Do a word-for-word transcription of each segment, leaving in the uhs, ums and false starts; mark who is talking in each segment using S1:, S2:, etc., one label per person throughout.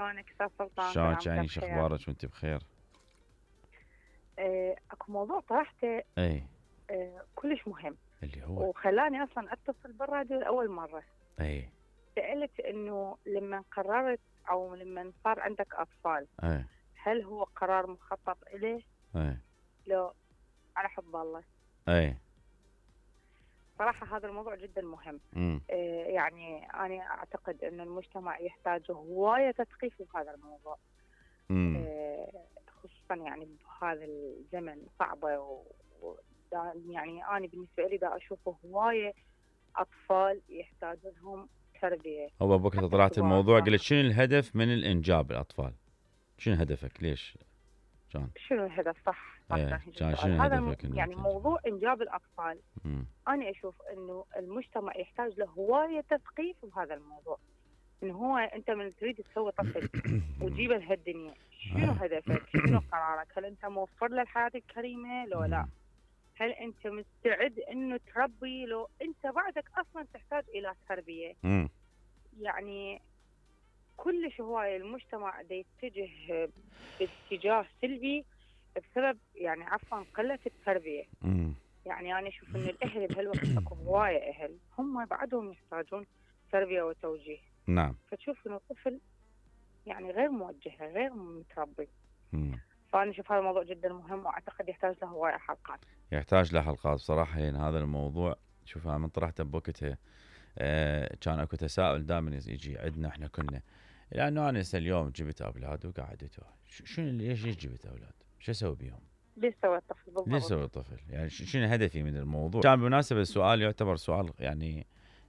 S1: شلونك استاذ سلطان؟ كل
S2: شلونك
S1: عام
S2: يعني
S1: وانت
S2: شو
S1: بخير.
S2: اخبارك وانت بخير؟
S1: آه، اكو موضوع طرحته
S2: اي
S1: آه، كلش مهم
S2: اللي هو
S1: وخلاني اصلا اتصل بالراديو لاول مره.
S2: اي
S1: سالت انه لما قررت او لما صار عندك اطفال
S2: اي
S1: هل هو قرار مخطط اليه
S2: اي
S1: لو على حب الله؟
S2: اي
S1: صراحه هذا الموضوع جدا مهم.
S2: امم
S1: آه، يعني انا اعتقد ان المجتمع يحتاج هوايه تثقيف بهذا الموضوع.
S2: امم
S1: آه، خصوصا يعني بهذا الزمن صعبه و... و... دا يعني انا بالنسبه لي دا اشوفه هوايه اطفال يحتاجون لهم تربيه.
S2: هو بوقت
S1: حتى
S2: طلعت
S1: الكبار
S2: الموضوع
S1: صح.
S2: قلت شنو الهدف من الانجاب الاطفال؟ شنو هدفك؟ ليش؟ كان
S1: شنو الهدف؟ صح صح
S2: ايه
S1: كان هيجي
S2: كان
S1: السؤال
S2: شنو
S1: هذا الم...
S2: هدفك انه
S1: يعني
S2: تنجب؟
S1: موضوع انجاب الاطفال.
S2: امم
S1: انا اشوف انه المجتمع يحتاج له هوايه تثقيف بهذا الموضوع. انه هو انت من تريد تسوي طفل وتجيبه لهالدنيا شنو هدفك؟ شنو قرارك؟ هل انت موفر له الحياه الكريمه لو لا؟ هل انت مستعد انه تربي لو انت بعدك اصلا تحتاج الى تربيه؟
S2: امم
S1: يعني كلش هوايه المجتمع دا يتجه باتجاه سلبي بسبب يعني عفوا قله التربيه.
S2: امم
S1: يعني انا اشوف انه الاهل بهالوقت اكو هوايه اهل هم بعدهم يحتاجون تربيه وتوجيه.
S2: نعم
S1: فتشوف انه الطفل يعني غير موجه غير متربي.
S2: امم
S1: فانا اشوف هذا الموضوع جدا مهم واعتقد يحتاج له هوايه حلقات.
S2: يحتاج له حلقات بصراحه. يعني هذا الموضوع شوف انا من طرحته بوقتها آه كان اكو تساؤل دائما يجي عندنا احنا كلنا، لانه انا هسه اليوم جبت اولاد وقعدته ش- شنو ليش ليش جبت اولاد؟ شو اسوي بيهم؟
S1: ليش سوى الطفل
S2: ليش
S1: بالضبط؟
S2: اسوي الطفل؟ يعني ش- شنو هدفي من الموضوع؟ كان بالمناسبه السؤال يعتبر سؤال يعني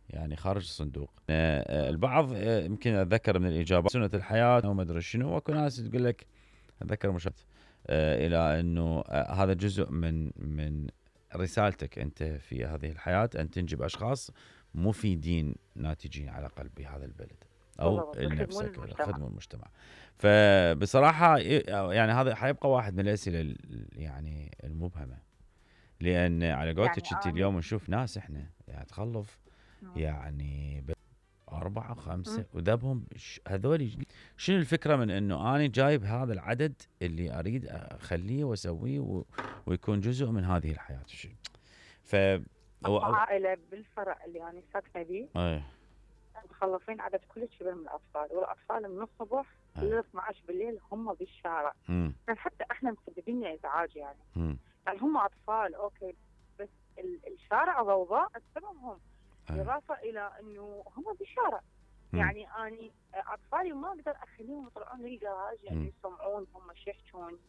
S2: يعني خارج الصندوق. آه، آه، البعض آه، يمكن اتذكر من الاجابات سنه الحياه وما ادري شنو، واكو ناس تقول لك اتذكر مش آه، الى انه آه، هذا جزء من من رسالتك انت في هذه الحياه، ان تنجب اشخاص مفيدين ناتجين على الاقل بهذا البلد او
S1: بالضبط يخدمون
S2: لنفسك
S1: المجتمع.
S2: خدموا المجتمع. فبصراحه يعني هذا حيبقى واحد من الاسئله ال- يعني المبهمه، لان على قولتك
S1: يعني
S2: انت
S1: انا
S2: اليوم نشوف ناس احنا يعني تخلف يعني ب- أربعة خمسة وذبهم ش- هذول شنو الفكرة من إنه أنا جايب هذا العدد اللي أريد أخليه وأسويه و... ويكون جزء من هذه الحياة ش- ف
S1: اكو
S2: هو
S1: عائله بالفرع اللي انا ساكنه به
S2: أي
S1: مخلصين عدد كلش كبير من الاطفال والاطفال من الصبح
S2: أي
S1: ل اثني عشر بالليل هم بالشارع.
S2: مم.
S1: يعني حتى احنا مسببين لنا ازعاج يعني.
S2: مم.
S1: يعني هم اطفال اوكي بس ال- الشارع ضوضاء بسببهم.
S2: أي
S1: بالاضافه الى انه هم بالشارع.
S2: مم.
S1: يعني اني اطفالي ما اقدر اخليهم يطلعون للجراج يعني
S2: مم.
S1: يسمعون هم شو يحجون.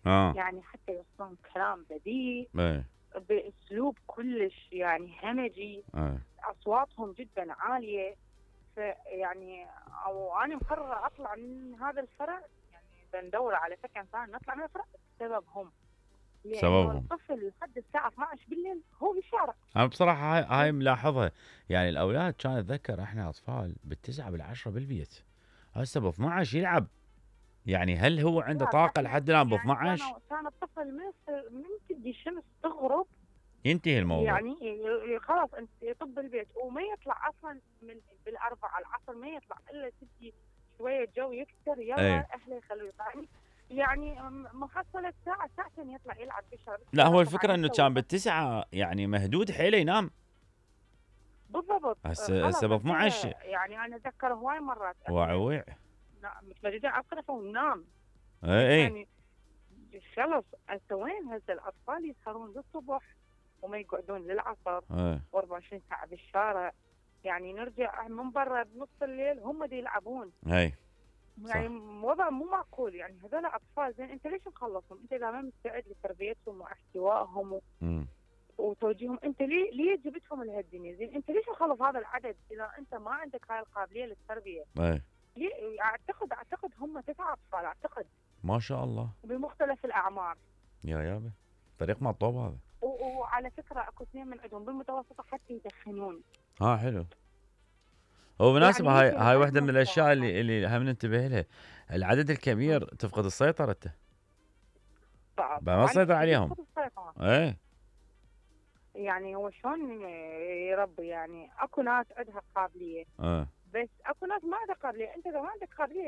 S2: آه
S1: يعني حتى يوصلون كلام بذيء
S2: أي
S1: باسلوب كلش يعني همجي.
S2: أي
S1: اصواتهم جدا عاليه. فيعني او انا مقرره اطلع من هذا الفرع يعني بندور على سكن ثاني نطلع من الفرع بسببهم. لانه
S2: سببهم.
S1: الطفل لحد الساعه اثني عشر بالليل هو بالشارع.
S2: أنا بصراحة هاي, هاي ملاحظها. يعني الأولاد كان أتذكر إحنا أطفال بالتسعة بالعشرة بالبيت، هسه ب اثني عشر يلعب. يعني هل هو عنده
S1: لا،
S2: طاقة
S1: احنا
S2: لحد الآن ب
S1: يعني
S2: اثني عشر؟
S1: كان كان الطفل من من تجي الشمس تغرب
S2: ينتهي الموضوع.
S1: يعني ي- ي- خلاص انت يطب البيت وما يطلع اصلا من بالاربعه العصر ما يطلع الا تجي شويه جو يكسر
S2: أي.
S1: يلا اهله يخلوه يطلع. يعني محصله ساعه ساعتين يطلع يلعب بالشارع.
S2: لا هو الفكرة
S1: طبعاً
S2: انه
S1: يسوي
S2: كان بالتسعة يعني مهدود حيله ينام.
S1: بالضبط.
S2: هسه
S1: خلاص
S2: هسه ب
S1: انت
S2: اثني عشر
S1: يعني انا اتذكر هواي مرات احنا
S2: وعويع.
S1: متمردين على الطرف وننام.
S2: اي اي
S1: يعني خلص انت وين هسه الاطفال يسهرون للصبح وما يقعدون للعصر
S2: اي
S1: وأربعة وعشرين ساعه بالشارع. يعني نرجع من برا بنص الليل هم دي يلعبون.
S2: اي
S1: يعني وضع مو معقول. يعني هذول اطفال زين انت ليش مخلصهم؟ انت اذا ما مستعد لتربيتهم واحتوائهم و...
S2: امم
S1: وتوجيههم انت ليه ليه جبتهم لهالدنيا؟ زين انت ليش مخلص هذا العدد اذا انت ما عندك هاي القابليه للتربيه؟
S2: اي
S1: ليه؟ اعتقد اعتقد هم تسعة اطفال اعتقد
S2: ما شاء الله
S1: بمختلف الاعمار.
S2: يا يابا فريق مطوب هذا.
S1: و- وعلى فكره اكو اثنين من عندهم بالمتوسطه حتى يدخنون.
S2: ها حلو. هو بالمناسبة
S1: يعني
S2: هاي
S1: مثل
S2: هاي
S1: غير
S2: واحدة من الاشياء
S1: متوقع.
S2: اللي اللي هم ننتبه لها. العدد الكبير تفقد السيطرة انت.
S1: صعب
S2: ما تسيطر عليهم. اي
S1: يعني هو شلون يربي؟ يعني اكو ناس عندها قابليه
S2: اي
S1: بس اكو ناس ما عندها قابليه. انت اذا ما عندك قابليه